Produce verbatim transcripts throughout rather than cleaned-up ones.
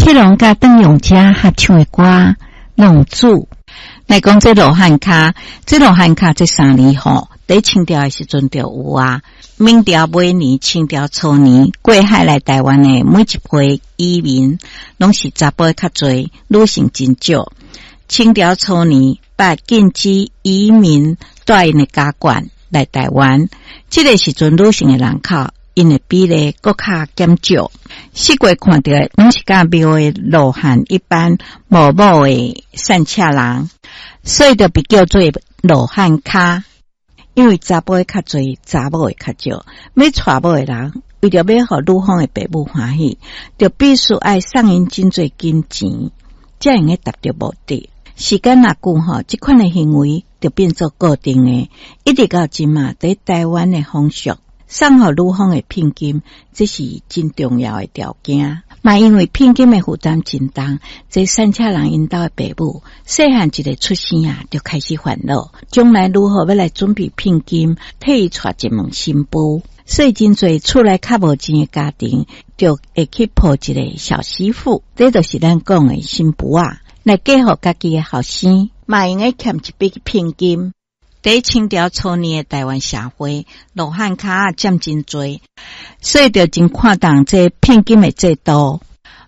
七龍佮鄧永嘉合唱的歌《浪子》。來講這羅漢跤，這羅漢跤這三字吼，佇清朝的時陣就有啊。明朝尾年、清朝初年過海來台灣的每一批移民，攏是查埔較濟，女性真少。清朝初年，把禁止移民帶𪜶的家眷來台灣，這個時陣女性的人口，𪜶的比例閣較減少。四界看著的攏是佮廟的羅漢一般無某的散赤人，所以就被叫做羅漢跤。因為查埔的較濟，查某的較少。欲娶某的人，為著欲予女方的爸母歡喜，就必須愛送𪜶真濟金錢，才會用達著目的。時間若久吼，這款的行為就變做固定的，一直到這馬，佇台灣的風俗，送予女方的聘金，這是真重要的條件。嘛，因為聘金的負擔真重，這散赤人𪜶兜的爸母，細漢一个出生啊，就開始煩惱，將來如何欲來準備聘金，替伊娶一門新婦。所以真濟厝內較無錢的家庭，就會去抱一个小媳婦，這就是咱講的新婦仔，來嫁予家己的後生，嘛會用得欠一筆聘金。佇清朝初年的台灣社會，羅漢跤佔真濟，所以就真看重這聘金的制度，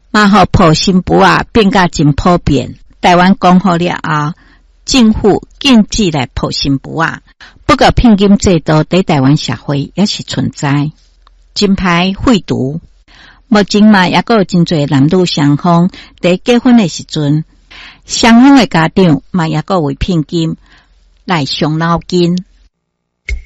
嘛予抱新婦仔變甲真普遍。台灣光復了後，政府禁止來抱新婦仔，不過聘金制度佇台灣社會猶是存在，真歹廢除。目前嘛，猶閣有真濟男女雙方佇結婚的時陣，雙方的家長嘛猶閣為聘金來傷腦筋。